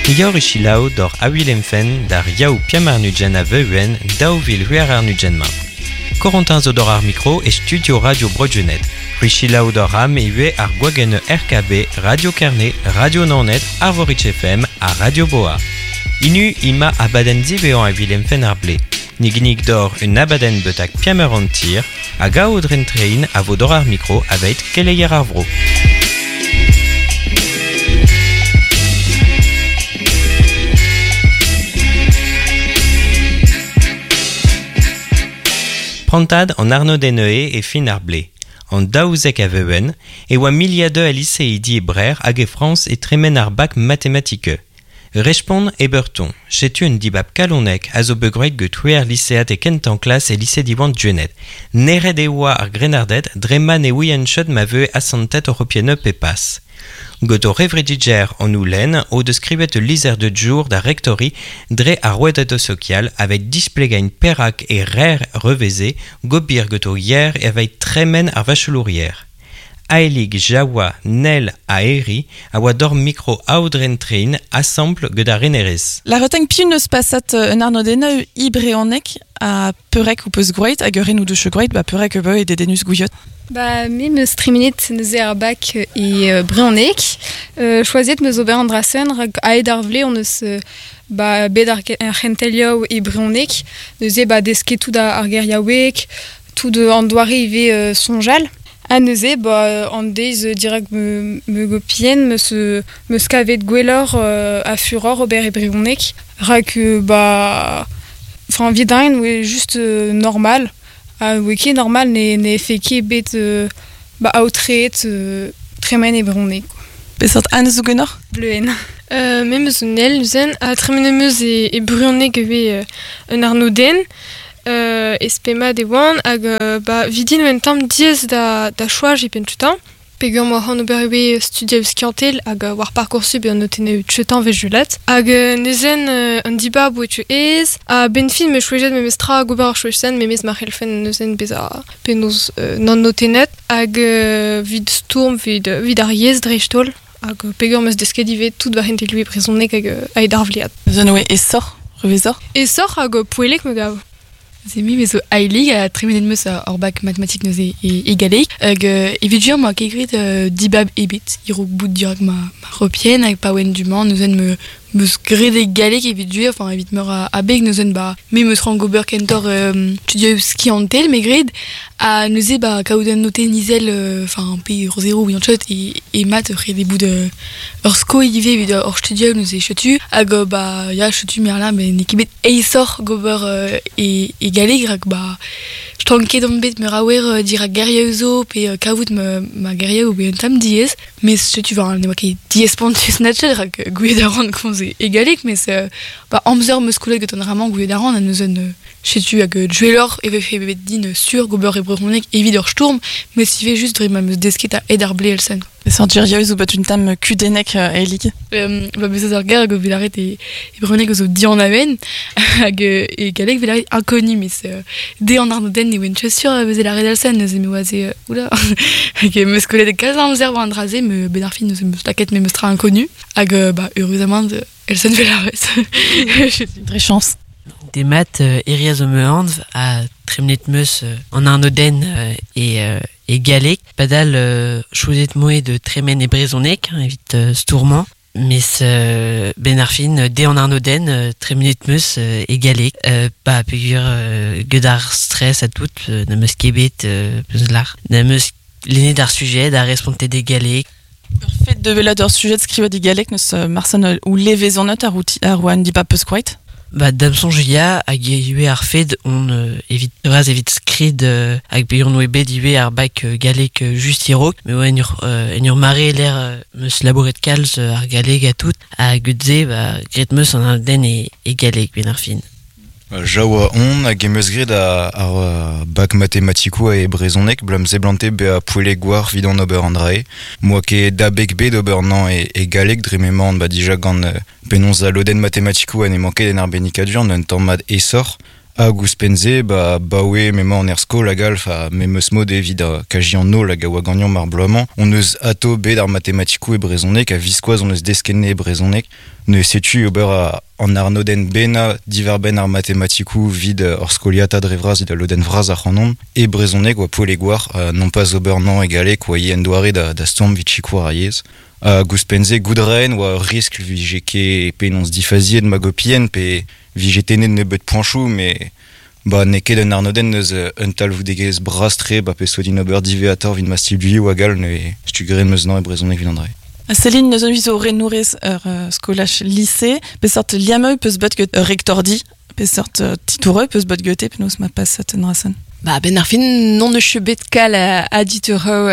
Ni gaor selaou d'or a Willemfen d'ar yaou piamarnugen a veuen daou vil huer ar nugen ma. Corentin zo d'or ar mikro e studio Radio Broadjunet. C'hwi selaou d'or am e ue ar gwagenn RKB, Radio Kerne, Radio Naoned, Arvorig FM ha Radio Boa. Inu ima abadenn zivean a Willemfen ar ble. Ni ginnig d'or un abadenn betak piamer an tir hag aodren trein a vo d'or ar mikro aveit keleier ar vro. Prantad an Arnaud-Deneué e fin ar ble. An daouzek a veuen, e oa miliadeu a lycéidi e brer hag e Frans e tremen ar bak matematike. Respond e beurton, setu un dibab kalonek a zo begroet get c'hwec'h lycéad e kentan klas e lycée Diwan Djuenet. Neret e oa ar grennarded dre ma ne ouient chet ma veue asantet europienne pe pas. Get o revrediger an oulen o deus skrivet ul lizher de jour da rectori dre ar rouedad sokial avec displegain perak e rer reveze gobir get o yer e aveit tremen ar vachelourier. Aelig, Jawa, Nel ha Eri a oa d'or mikro aodren trein asampl get ar renerez. La reteng piv neus pasat un arnodenn i breonek a peurek ou peus groet hag ur en ou deus groet ba peurek e e dedenus gouiot. Ba, me meus tremenet neuze ar bak e brezhoneg. Choazet meus ober an drasen rak aet ar vle on eus ba, bet ar c'hentelioù e brezhoneg. Neuze ba desket tout ar geriaoueg, tout an doare ivez soñjal. Ha neuze ba, an deiz dirak me, me gopien meus, meus kavet gwelloc'h a furor ober e brezhoneg. Rak ba, enfin, vidain oe just normal. Ha oe ket normal ne, ne fe ket bet ba, aotreet tremen e brezhoneg. Peseurt an zo ganeoc'h? Bleuenn. Me meus un el neuzen, ha tremen em eus e, e brezhoneg ivez un arnodenn. E spemad e oan hag ba, vidin oen tamm diaes da, da choaz e penn tutan. Peogwir m'oa c'hoant ober ivez studiañ skiantel hag war Parcoursup e an notenn tuetan vez julat. Hag neuzen an dibab oe tu aes, ha ben fin me chouejet memes tra hag ober ar chouezen memes ma c'hellfen neuzen bezañ penaos nann notennet hag vid stourm vid, vid ar yezh dreist-holl hag peogwir 'm eus desket ivez tout war hentelioù e brezhoneg hag aet ar vlead. Neuzen oe esoc'h, revezoc'h? Esoc'h hag poellek me gav. Se me zo ailig ha tremenet 'm eus ur bak matematik neuze e, e galleg. Hag evit gwir 'moa ket graet dibab ebet e-raok bout dirak ma, ma repien hag pa oan du-mañ neuzen me 'meus graet e galleg evit gwir, enfin evit meur a abeg neuzen ba me 'meus c'hoant gober kentoc'h studioù skiantel me gred ha neuze ba kaout un notenn izel enfin pe ur zero ouian chet e, e mat ur c'hede bout ur skoilh ivez evit hor studioù neuze setu hag ba ya setu me là met n'eo ket bet aesoc'h gober e, e galleg rak ba stanket on bet meur a wer dirak gerioù zo pe kavout ma, ma gerioù pe un tamm diaes met setu war ne oa ket diaes spontus natchet rak gouiet a ran komz e, e galleg met ba amzer 'm eus kollet gant an dra-mañ gouiet a ran ha neuze setu hag duelloc'h e vefe bet din sur gober e brezhoneg evit ur stourm met ivez just dre ma 'm eus desket a-hed ar blez elsen. Peseurt gerioù zo bet un tamm kudennek Elig? Ba bezañ ur ger hag o vet lâret e, e brezhoneg zo dianaven hag e galleg 'vez lâret inconnu mes de an arnodenn ne oan ket sur a veze lâret elsen neuze me oa se oula hag 'm eus kollet kalz a amzer war an dra-se me 'benn ar fin neuze 'm eus lakaet memes tra inconnu hag ba eüruzamant elsen 'vez lâret. Dre chañs. Demat Eri a zo ma anv ha tremenet 'm eus an arnodenn e, e galleg. Padal choazet 'moe de tremen e brezhoneg evit stourmañ. Mes ben ar fin de an arnodenn tremenet 'm eus e galleg. Ba peogwir get ar stress ha tout n'am eus ket bet peus lar. N'am eus lennet ar sujet ha respontet e galleg. Ur fed de welet ur sujet skrivet e galleg neus Marcel ou levezonet ar outi ar oan dibab peus kroet? Ba da'm soñj ya hag ivez ar fed on evit bras evit skrid hag peogwir on oa bet ivez ar bak gallek just e-raok me oa en ur, en ur mare lec'h 'm eus labouret kalz ar galleg ha tout hag se ba graet 'm eus an arnodenn e, e galleg 'benn ar fin. Jaoua on hag em eus graet ar bak matematikoù e brezhoneg blam seblante bezañ poellek war evit an ober an dra-se. M'oa ket abeg bet ober nañ e, e galleg dre m'emaon ba dija gant penaos al lodenn matematikoù ha n'emañ ket en arbennikadur un tamm mat aesoc'h. Hag ouzhpenn-se, ba, baoe m'emañ an er skol hag all, fa memes mod evit a kaji an holl hag a oa gagnon mar bloaz-mañ. On eus ato bet ar matematikoù e brezhoneg, a viskoazh on eus deskenne e brezhoneg. Ne setu ober a, an arnodenn bennañ diwar-benn ar matematikoù vid ur skoliata dre vras evit al lodenn vras ar c'hanon. E brezhoneg oa poell e gwar, non pas ober nañ e galleg oa ivez en doare da, da stourm vit sikour ar yezh. Hag ouzhpenn-se goudren oa ur riskl vije ket penaos difaziet ma gopien pe vije tennet nebeut poañchoù met ba n'eo ket un arnodenn neus un talvoudegezh bras-tre ba peseurt din ober diwezhatoc'h evit ma studioù hag all neuze setu graet 'm eus nañ e brezhoneg evit an dra. Céline neus zo renourez ur skolaj lycée, peseurt liammeu peus bet get ur rektordi, peseurt titoureu peus bet gete penaos ma paset en drasen. Ba, ben ar fin non eus bet kal a ditoureu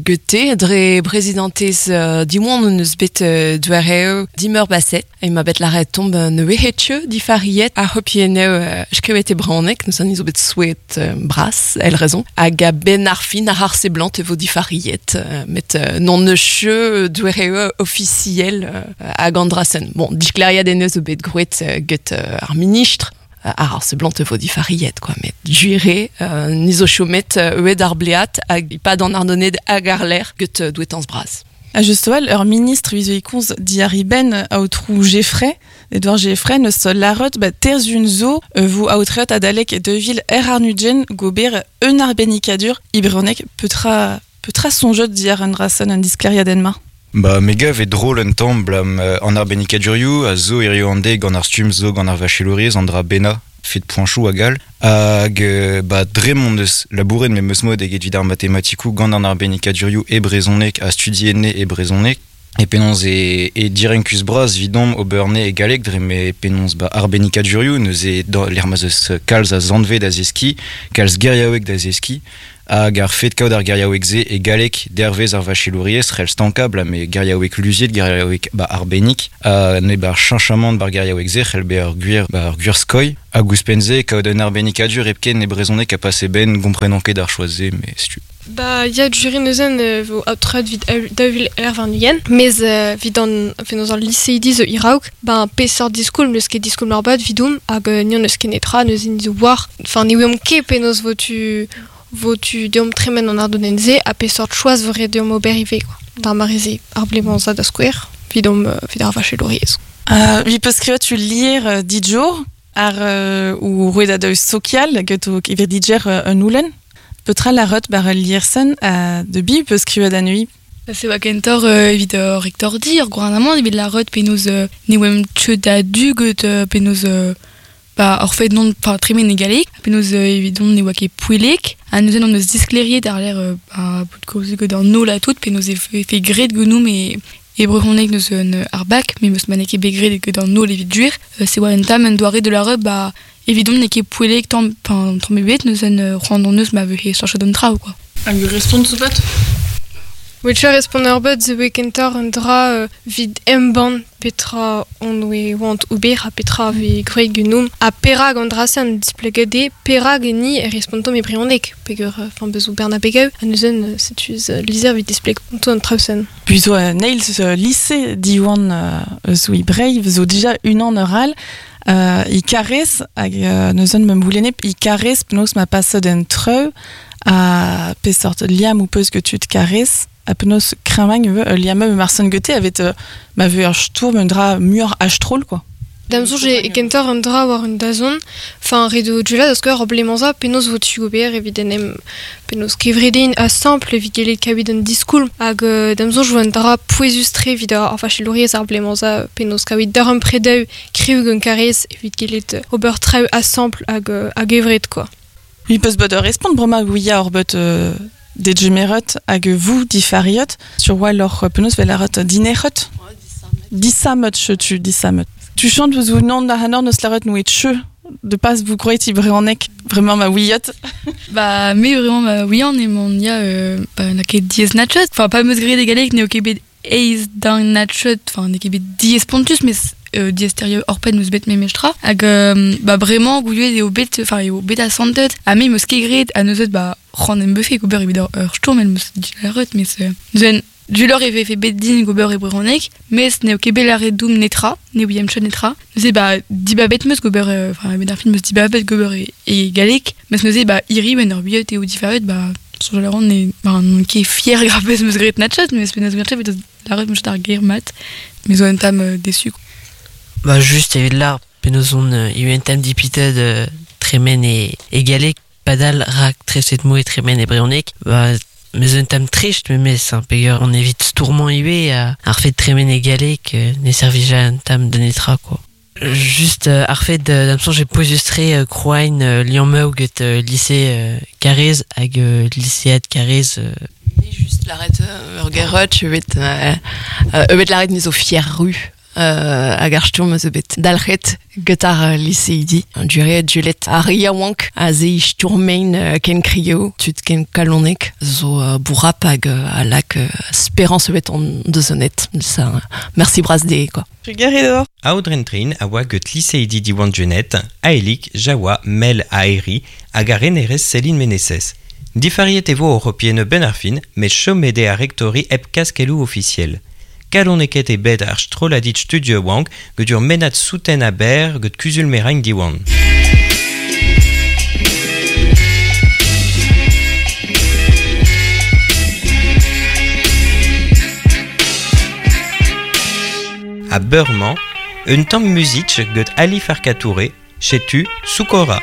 gete, dre prezidentez Diwan on eus bet doareu dimeur baset. E ma bet lâret tomb ne wehetche difariet a hopieneu skrivet e brezhoneg, nous an izo bet souet bras, el raison. Hag a ben ar fin ar ar seblant e vo difariet, met non eus doareu officiel hag an drasen. Bon, diskleriad en eus o bet groet get ar ministre, ar ar seblant e vo difariet, quoi, met juire, nizo chomet euet ar bleat hag pad an arnoned hag ar l'air get douetans bras. A just-well, ur ministre vizo ikonz diari ben aotrou Geffray, Edouard Geffray, neus larot ba terzun zo vo aotreot adalek devil er arnudjen gober un arbenikadur ibronek petra petra sonjot diar un drasen un diskleriadenn-ma. Ba, me gav e drôl un tamm blam an arbennikadurioù a zo hirio an deiz gant ar stumm zo gant ar vachelouriezh an dra bennañ fet poañchoù hag all. Hag ba dre m'hon eus labouret memes mod eget evit ar matematikoù gant an arbennikadurioù e brezhoneg ha studienne e brezhoneg. E penaos e direnkus bras vidomp ober ne e galleg dre me penaos ba arbennikadurioù neuze lec'h ma'z eus kalz a zanve da zeskiñ, kalz geriaoueg da zeskiñ. Hag ar fet kaout ar geriaoueg-se e galleg dervez ar vachelouriezh c'hell stankañ bla me geriaoueg luziet, geriaoueg ba arbennik. Ha ne bar cheñchamant bar geriaoueg-se c'hell bezañ ur gwir ba ur gwir skoilh. Hag ouzhpenn-se kaout un arbennikadur hepken e brezhoneg a pase ben gomprenan ket ar choaz-se, mais setu. Ba ya juri neuzen vo aotreet vit daou er warn-ugent, mez vit an penaos al liseidi zo iraok, ba peseurt diskoulm n'eus ket diskoulm ar bat vidoum hag nion n'eus ket netra neuzen zo war. Enfin ne ouiomp ket penaos vo tu deomp tremen an ardodenn-se ha peseurt choaz vo ret deomp ober ivez, quoi. D'ar mare-se, ar blemañ da skouer, vidomp vit ar vachelouriezh. Vi peus skrivet tu lier dijour ar ou roet da sokial get o evit dijer un oulen. Petra la rot bar liersen de bi peus skrivet anui. Se oa kentor evit ur rektordi, ur gouarnamant evit la rot penaos ne oem tcheut da du get penaos ba ur fet non pa tremen e galleg, penaos evidon ne oa ket poellek, ha neuzen on eus diskleriet ar l'air ba bout kaoz get an holl ha tout, penaos e fe graet genoù me e brezhoneg neus un ar bak, me meus ma n'eo ket bet graet get an holl evit duer. Se oa un tamm un doare de la rot, ba evidon n'eo ket poellek tamm, tamm ebet, neuzen c'hoant on eus ma vehe chañchet an traoù, quoi. Hag ur respont zo bet? Witcher respont ur bet zo kentor un dra vid embann petra on oe oant ober ha petra vi groet genoum ha perag an dra se an displegade perag ni e respontom e brezhoneg peger enfin bezo berna begeu ha neuzen setu lizer vid displeg onto an traoù-sen. Puis zo neil lycée Diwan zo i Brave zo dija unan ur all i karez hag neuzen me boulenne i karez penaos ma paset en treu a pesort liam ou peus que tu te karez a penaos kreñvagn eo liamm me marsen gete evet ma veu ur stourm un dra muioc'h astrol, quoi. Da'm soñj e kentor un dra war un dazont, enfin redo djela da skouer ur blemañ-za penaos vo tu ober evit en em penaos kevredin a simple evit gellet kaout un diskoulm hag da'm soñj vo un dra pouezus-tre evit ar vachelouriezh ar blemañ-za penaos kaout d'ur predeu kriv gant karez evit gellet ober traoù a simple hag evred, quoi. Vi peus bet ur respont bremañ gouia ur bet de djemeret hag vous difariot sur wal ur penaos vel arot dinerot disamet chetu disamet. Tu chantes vous non da hanor neus laret nou et che de pas vous croyez ti brezhoneg vraiment ma ouiot. Ba me vraiment ma ouian e mon ya ba na ket diez natchet enfin pas meus graet e galleg n'eo ket bet eiz d'un natchet enfin n'eo ket bet diez pontus mais diez terio orpen meus bet memestra hag ba vraiment gouiet eo bet enfin eo bet asantet ha me meus ket graet ha neuzet ba c'hoant em befe gober evit ur stourm el meus dit laret mais neuzen Dulor e vefe bet din gober e brezhoneg, mes n'eo ket bet lâret doum netra, ne ouiemp chet netra. Neuze ba dibabet meus gober, enfin ben ar fin meus dibabet gober e galleg, mes neuze ba hiri ben ur biot eo difaret, ba soñjal a ran ne, ba n'on ket fier grapez meus graet natchet, mes penaos graet evit lâret meus ar ger mat, me zo un tamm déçu. Ba juste evit lar penaos on un tamm dipitet tremen e galleg, padal rak treset mo e tremen e brezhoneg, ba meus un tamm trist memes, hein, peogwir on evit stourmañ ivez ar fet tremen e galleg ne servija un tamm da netra quoi. Juste ar fet d'am soñj e pouezus-tre kroain liammeù get lycée Karez hag lycéad Karez. Mais juste lâret ur gerot evet evet lâret me zo fier ru hag ar stourm eus bet dalc'het get ar lycéidi. Dure dulet ar yaouank a ze stourmein ken krio, tud ken kalonek, zo bourrap hag a lak espérance bet on deus net. Ça, merci bras de, quoi. Trugarez. Aodren Trin a oa get lycéidi Diwan Junet, Aelik, Jawa, Mel Aeri, hag ar renerez Céline Meneses. Difariet e vo europienne ben ar fin, met chomede a rektori hep kaskelou officiel. Kaloneket e bet ar stroladit studio wank get ur mennad souten a ber get kuzul merañ Diwan. A Beurman, un tamm music get Ali Farka Touré, chetu Soukora.